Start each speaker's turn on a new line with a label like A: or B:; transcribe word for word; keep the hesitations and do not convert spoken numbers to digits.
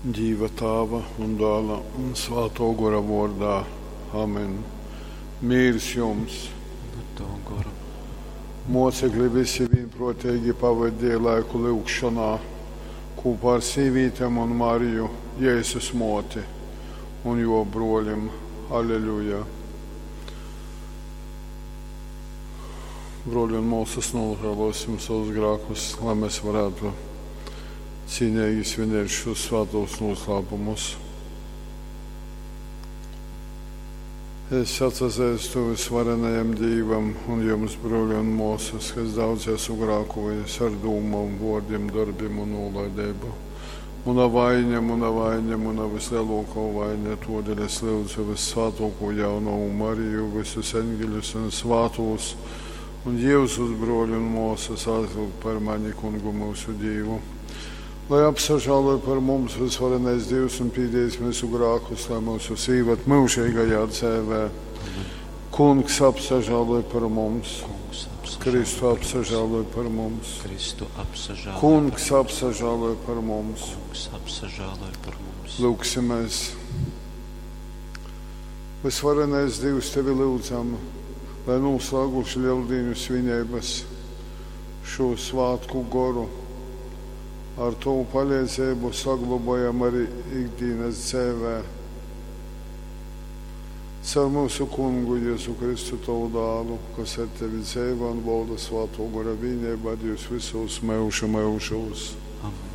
A: Dīva Tāva un Dāla un Svātō Gora vōrdā. Amen. Mīrs jums!
B: Un ar tavu goru.
A: Mōcekli visi vīnprōteigi pavadīja laiku lyugšonā kūpā ar sīvītem un Mariju, Jēzus mōti, un jō brōlim. Aleļuja! Brōļi un mōsas, nožēlosim savus grēkus, lai mēs varētu cīnīgi svinēt šos svētos noslēpumus. Es atsazeistu visvarenajam Dīvam un jums, brōļi un mōsas, ka es daudz esmu grākojis ar dūmom, vōrdim, darbim un nolaideibu. Muna vaine, muna vaine, muna vislielākā vaine, todēļ es lūdzu vissvētāko jaunavu Mariju, visus eņģeļus un svātos, un Jēzus brōļi un mōsas aizlūgt par mani kungu mūsu Dīvu. Lai apsažāloj par mums visvarenais Dievs un pīdējis mūsu grākus, lai mūsu sīvat mūžīgajā dzēvē. Kungs apsažāloj par mums.
B: Kungs apsažāloj
A: Kristu
B: par mums.
A: apsažāloj par mums.
B: Kristu apsažāloj
A: Kungs
B: par mums.
A: apsažāloj par mums.
B: Kungs apsažāloj par mums.
A: Lūgsimies. Visvarenais Dievs, tevi lūdzam, lai noslēguši Lieldienu svinības šo svātku goru, ar tavu palīdzību saglabājam arī ikdienas dzīvē. Caur mūsu kungu Jēzu Kristu tavu dālu, kas ar tevi dzīvo un valda svāto gora vienībā Dievs visos mūžu mūžos.
B: Amen.